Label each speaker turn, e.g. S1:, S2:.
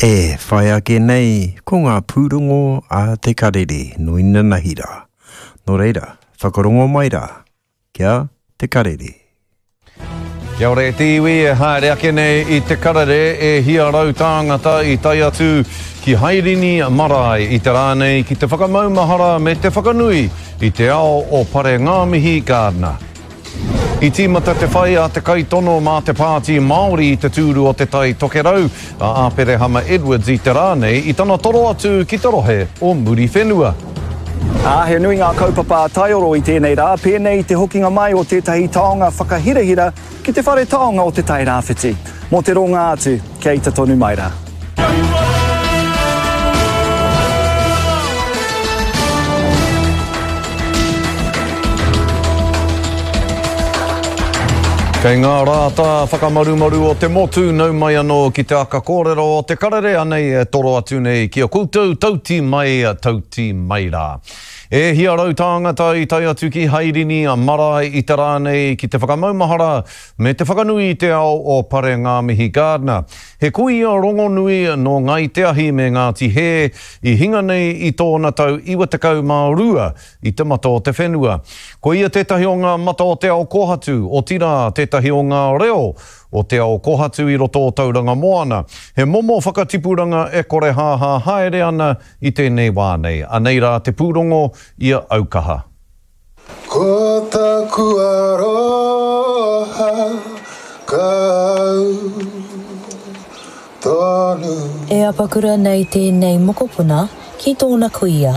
S1: E whai ake nei ko ngā pūrongo a Te Karere nō inanahi rā. Nō reira, whakarongo mai rā kia Te Karere.
S2: Kia ora e te iwi e haere ake nei i Te Karere e hia tāngata i tae atu ki Hairini Marae i te rā nei ki te whakamaumahara me te whakanui i te ao o Parengāmihi Gardiner. I tīmata te whai a te kaitono mā te Pāti Māori i te tūru o Te Tai Tokerau, a Āperehama Edwards i te rā nei i tana toro atu ki te rohe o Muriwhenua.
S3: Ā, he nui ngā kaupapa a Taioro i tēnei rā, pēnei i te hokinga mai o tētahi taonga whakahirahira ki te whare taonga o Te Tai Rāwhiti. Mō te ronga atu, kia ita tonu mai rā.
S2: Kei ngā rātā whakamarumaru o te motu, nau mai anō ki te aka kōrero o te karere, anei e toro atu nei ki a koutou, tauti mai, tauti mai rā. E hia tāngata i tae atu ki Hairini marae i te rā nei ki te whakamaumahara me te whakanui i te ao o Parengāmihi Gardiner. He kuia rongonui nō Ngāi Te Ahi me Ngāti Hē i hinga nei i tōna tau 92 i te mata o te whenua. Ko ia tētahi o ngā mata o te ao kōhatu, otirā tētahi o ngā reo o te ao kōhatu i roto o Tauranga Moana. He momo whakatipuranga e korehāhā haere ana i tēnei wā nei. Anei rā te pūrongo i a Aukaha.
S4: Ko taku aroha ka au tonu.
S5: E apakura nei tēnei mokopuna ki tōna kuia.